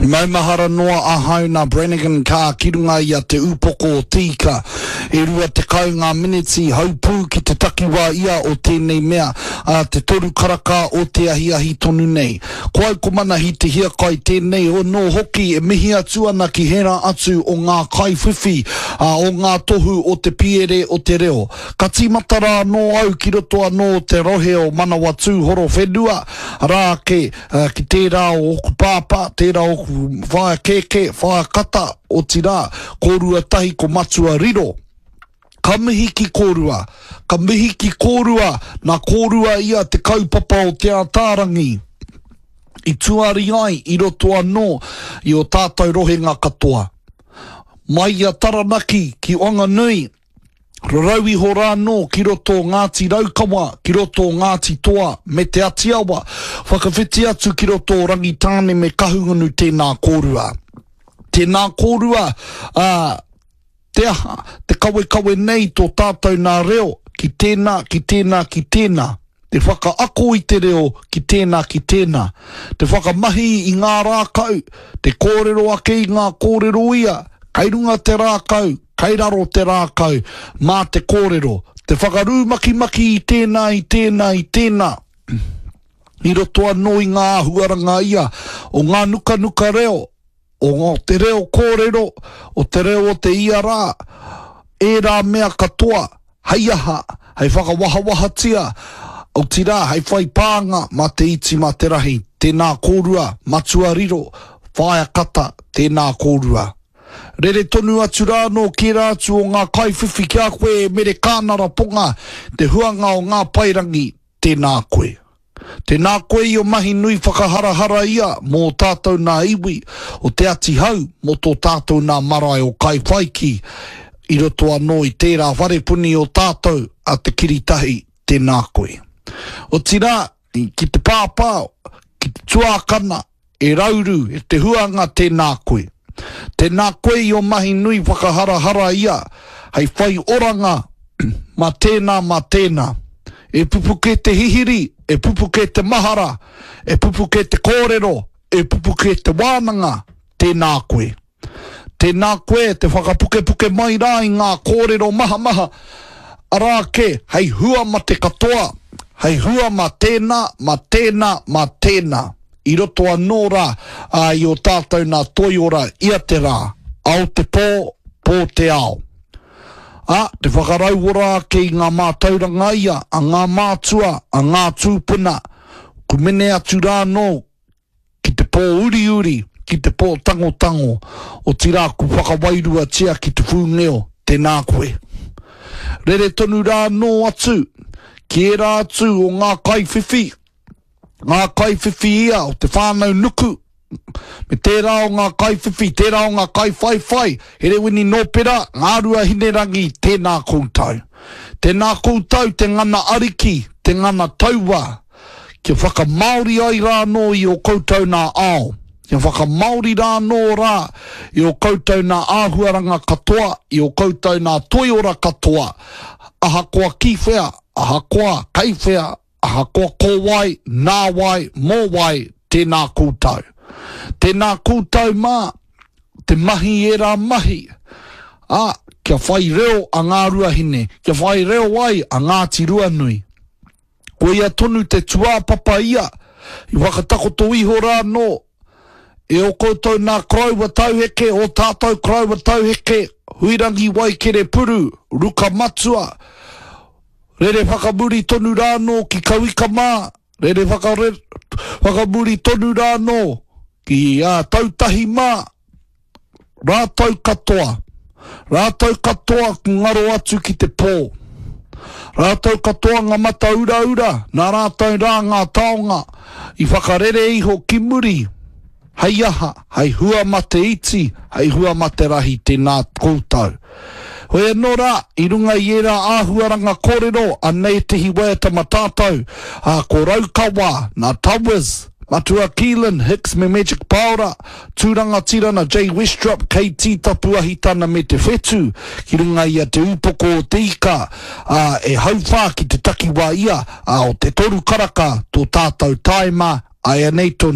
Maumahara noa ahau nā Brannigan Carr ki runga i a Te Upoko o Te Ika. E 20 ngā miniti haupū ki te takiwā ia o tēnei mea, ā, te toru karaka o te ahiahi tonu nei. Ko au ko Manahi Te Hiakai tēnei anō hoki e mihi atu ana ki hērā atu o ngā kaiwhiwhi, ā, o ngā tohu o te piere o te reo. Ka tīmata rā anō au ki roto anō o te rohe o Manawatū Horowhenua, arā ake, Ki tērā o ōku pāpā, tērā o ōku whaea kēkē, whaea kata, otirā, kōrua tahi ko Matua Riro. Ka mihi ki kōrua, ka mihi ki kōrua, nā kōrua ia te kaupapa o Te Ataarangi i tuari ai i roto anō i ō tātou rohenga katoa. Mai i a Taranaki ki Wanganui, Rarau iho rā anō ki roto o Ngāti Raukawa, ki roto o Ngāti Toa me Te Atiawa, whakawhiti atu ki roto o Rangitāne me Kahungunu tēnā kōrua. Tēnā kōrua, ā, te aha, te kawekawe nei tō tātou nā reo ki tēnā, ki tēnā, ki tēnā. Te whakaako i te reo ki tēnā ki tēnā. Te whakamahi i ngā rākau, te kōrero ake i ngā kōrero ia, kei runga te rākau, kei raro te rākau, mā te kōrero. Te whakarūmakimaki i tēnā, i tēnā, i tēnā. I roto anō i ngā āhuaranga ia o ngā nukanuka reo, o te reo kōrero, o te reo o te ia rā, ērā mea katoa, hei aha, hei whakawahawahatia, otirā, hei whai pānga mā te iti, mā te rahi, tēnā kōrua, Matua Riro, Whaea Kata, tēnā kōrua. Rere tonu atu rā anō ki ērā atu o ngā kaiwhiwhi ki a koe e Mere Kānara Ponga, te huanga o ngā paerangi, tēnā koe. Tēnā koe i o mahi nui whakaharahara ia mō ō tātou nā iwi o Te Ati Hau mō tō tātou nā marae o Kaiwhaiki i roto anō i tērā wharepuni o tātou a Te Kiritahi, tēnā koe. Otirā, ki te pāpā, ki te tuākana, E Rauru, e te huanga, tēnā koe. Tēnā koe i o mahi nui whakaharahara ia, hei whai oranga mā tēnā, mā tēnā. E pupuke te hihiri, e pupuke te mahara, e pupuke te kōrero, e pupuke te wānanga, tēnā koe. Tēnā koe te whakapukepuke mai rā i ngā kōrero mahamaha, arā kē, hei hua ma te katoa, hei hua mā tēnā, mā tēnā, mā tēnā, i roto anō rā i ō tātou nā toiora ia te rā, ao te pō, pō te ao. Ā, te whakarauora ake i ngā mātauranga ia a ngā mātua, a ngā tūpuna, kumene atu rā anō ki te pō uriuri, ki te pō tangotango, otirā ku whakawairuatia ki te whūngeo, tēnā koe. Rere tonu rā anō atu ki ērā atu o ngā kaiwhiwhi, ngā kaiwhiwhi ia o te whānau nuku, me tērā o ngā kaiwhiwhi, tērā o ngā kaiwhaiwhai, Herewini Nōpera, Ngāruahinerangi, tēnā koutou. Tēnā koutou te ngana ariki, te ngana taua, Kia whakamāori ai rā anō i ō koutou nā ao, kia whakamāori rā anō rā i ō koutou nā āhuaranga katoa, i ō koutou nā toiora katoa, ahakoa ki whea, ahakoa kei whea, ahakoa ko wai, nā wai, mō wai, tēnā koutou. Tēnā koutou mā, te mahi i ērā mahi, ā, kia whai reo a Ngāruahine, kia whai reo ai a Ngāti Ruanui. Koia tonu te tuāpapa ia i whakatakoto iho rā anō e ō koutou nā koroua tauheke, ō tātou koroua tauheke, Huirangi Waikerepuru, Ruka Matua, rere whakamuri tonu rā anō ki Kauika mā, rere whakamuri tonu rā anō ki Tautahi mā, Rātou katoa, rātou katoa ku ngaro atu ki te pō. Rātou katoa ngā mata uraura, nā rātou rā ngā taonga i whakarere iho ki muri, hei aha, hei hua ma te iti, hei hua ma te rahi tēnā koutou. Hoi anō rā, i runga i ērā āhuaranga kōrero, anei ētehi waiata ma tātou, ā, ko Raukawa, nā Towers, Matua Keelan, Hicks me Magic Paora, Tū rangatira na Jay Westrup, KT Tapuahitana me Te Whetu, ki runga i a Te Upoko o Te Ika, ā, e hauwhā ki te takiwā ia, ā, o te toru karaka tō tātou tāima, āianei tonu.